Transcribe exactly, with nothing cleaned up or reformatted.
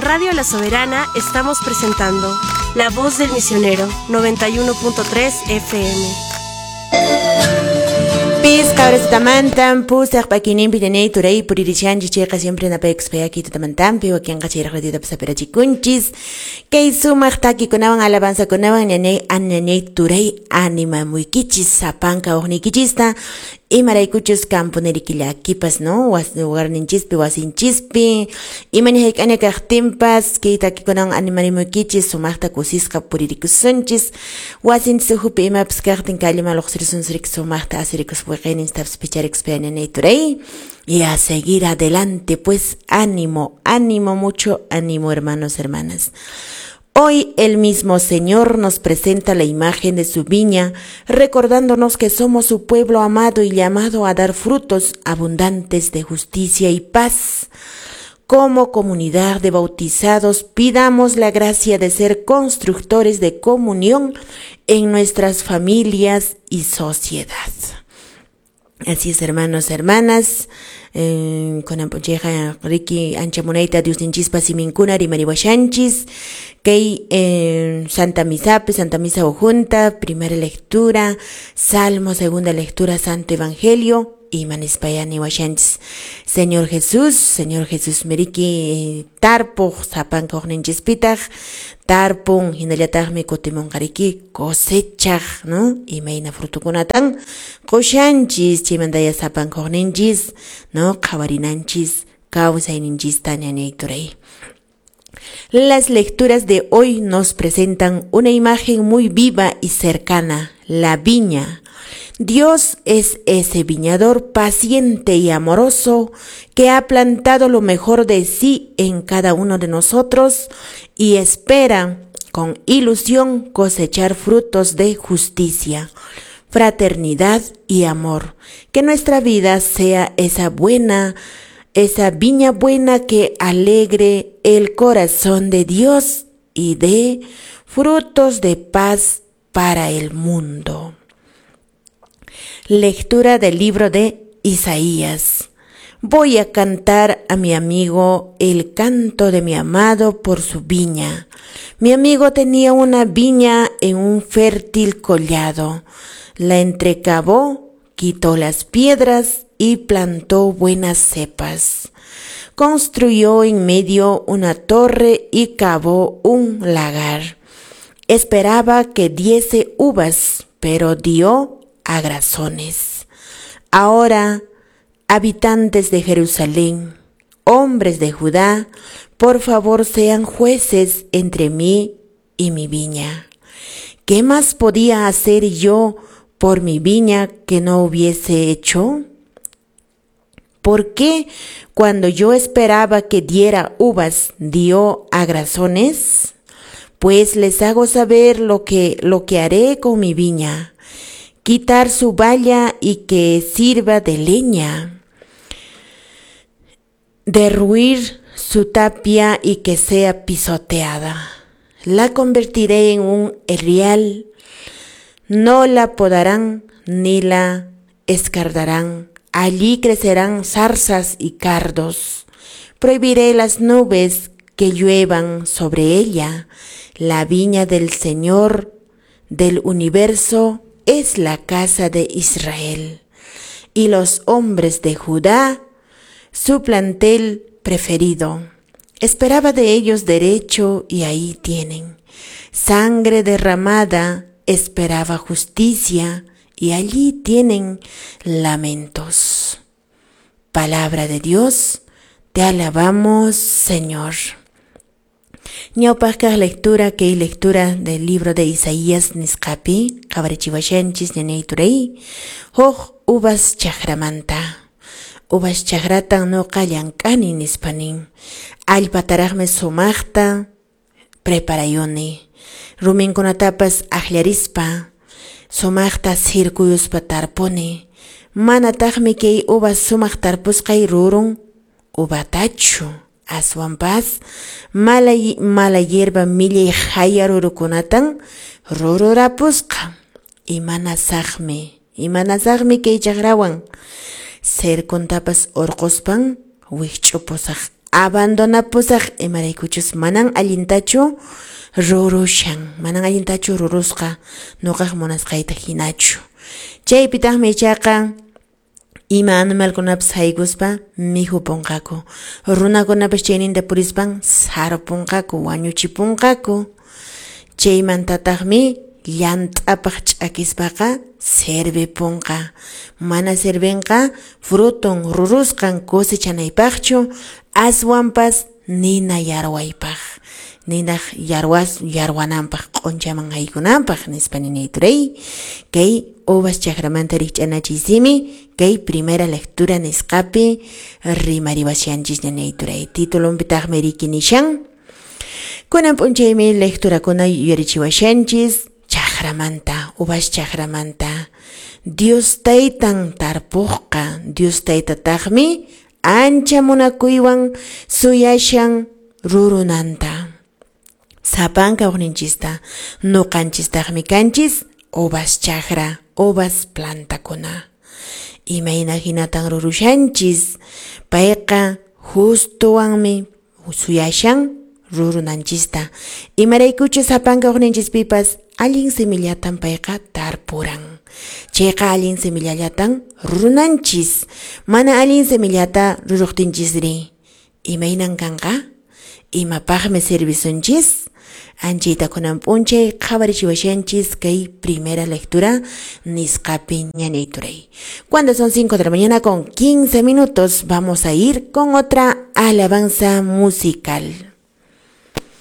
Radio La Soberana estamos presentando La Voz del Misionero, noventa y uno punto tres F M. Pis cabres tamantan pusaq pakininpi ñañay turay puririchanchis chayqa siempre napaykuspayaki tutamantanpi wakinqa chayraq ratitapas apirachikunchis kay sumaq takikunawan alabanzakunawan ñañay añañay turay animamuykichis sapanka uqniykichista imaraykuchus camponeriki llakipas, no, hogarninchispi wasinchispi imaña hayk'aña kaqtinpas kay takikunawan animarimuykichis sumaqta kusisqa puririkusunchis wasinchis ukhupi imapas kaqtin kalliman luqsirisunsirik sumaqta asirikuspa wiqayninchitapas picharikuspa ñañay turay y a seguir adelante, pues ánimo, ánimo, mucho ánimo, hermanos, hermanas. Hoy el mismo Señor nos presenta la imagen de su viña, recordándonos que somos su pueblo amado y llamado a dar frutos abundantes de justicia y paz. Como comunidad de bautizados, pidamos la gracia de ser constructores de comunión en nuestras familias y sociedad. Así es, hermanos, hermanas. Eh, con amponcheja riki ancha munayta Diosninchispa siminkuna rimariwashanchis kay eh, Santa Misape, Santa Misa Ujunta, primera lectura, Salmo, segunda lectura, Santo Evangelio, imanispayani washanchis. Señor Jesús, Señor Jesús meriki tarpuq sapanka uqninchispitaq tarpun hinallataqmi kutimunqariki cosechaq, no? Imayna frutukunatan qushanchis chaymantaya sapanka uqninchis, no? Qhawarinanchis kawsayninchista ñañay turay. Las lecturas de hoy nos presentan una imagen muy viva y cercana, la viña. Dios es ese viñador paciente y amoroso que ha plantado lo mejor de sí en cada uno de nosotros y espera con ilusión cosechar frutos de justicia, fraternidad y amor. Que nuestra vida sea esa buena, esa viña buena que alegre el corazón de Dios y dé frutos de paz para el mundo. Lectura del libro de Isaías. Voy a cantar a mi amigo el canto de mi amado por su viña. Mi amigo tenía una viña en un fértil collado. La entrecavó, quitó las piedras y plantó buenas cepas. Construyó en medio una torre y cavó un lagar. Esperaba que diese uvas, pero dio agrazones. Ahora, habitantes de Jerusalén, hombres de Judá, por favor sean jueces entre mí y mi viña. ¿Qué más podía hacer yo por mi viña que no hubiese hecho? ¿Por qué cuando yo esperaba que diera uvas, dio agrazones? Pues les hago saber lo que, lo que haré con mi viña: quitar su valla y que sirva de leña, derruir su tapia y que sea pisoteada. La convertiré en un erial, no la podarán ni la escardarán. Allí crecerán zarzas y cardos. Prohibiré las nubes que lluevan sobre ella. La viña del Señor del universo es la casa de Israel, y los hombres de Judá, su plantel preferido. Esperaba de ellos derecho y ahí tienen. Sangre derramada, esperaba justicia y allí tienen lamentos. Palabra de Dios, te alabamos, Señor. Ñawpaqkaq lectura kay lectura del libro de Isaías nisqapi qhawarichiwashanchis ñañay turay huk uvas chakramanta. Uvas chakratan nuqa llank'ani nispa nin. Allpataraqmi sumaqta preparayuni. Ruminkunatapas akllarispa sumaqta sirkuyuspa tarpuni. Manataqmi kay uvas sumaq tarpusqay rurun uvatachu. Aswanpas mala, mala hierba millay haya rurukunatan rururapusqa. Imanasaqmi, imanasaqmi kay chakrawan. Cercontapas urquspan wikch'upusaq Abandonapusaq imaraykuchus manan allintachu rurushan, manan allintachu rurusqa nuqaq munasqayta hinachu. Chaypitaqmi ichaqa ima animalkunapas haykuspa mihupunqaku, runakunapas chayninta purispan sarupunqaku, wañuchipunqaku. Chaymantataqmi llant'apaq ch'akispaqa servipunqa, mana servinqa fruton rurusqan cosechanaypaqchu, aswanpas nina yarwaypaq, ninaq yarwas yarwananpaq, q'unchaman haykunanpaq nispa ninay turay. Kay uvas chakramanta rikch'anachiy simi kay primera lectura nisqapi rimariwashanchis ninay turay. Titulunpitaqmi riki nishan kunan p'unchaymi lecturakuna yuyarichiwashanchis chakramanta, uvas chakramanta. Dios taytan tarpuqqa, Dios taytataqmi ancha munakuywan suyashan rurunanta. Sapanka uqninchista, nuqanchistaqmi kanchis uvas chakra, uvas plantakuna. Imayna hinatan rurushanchis, payqa justuwanmi suyashan rurunanchista. Imaraykuchus sapanka uqninchispipas allin semillatan payqa tarpuran. Chayqa allin semillallatan rurunanchis. Mana allin semillata ruruqtinchisri, imaynan kanqa? Imapaqmi servisunchis? Anchayta kunan p'unchay qhawarichiwashanchis kay primera lectura nisqapi ñanay turay. Cuando son cinco de la mañana con quince minutos, vamos a ir con otra alabanza musical.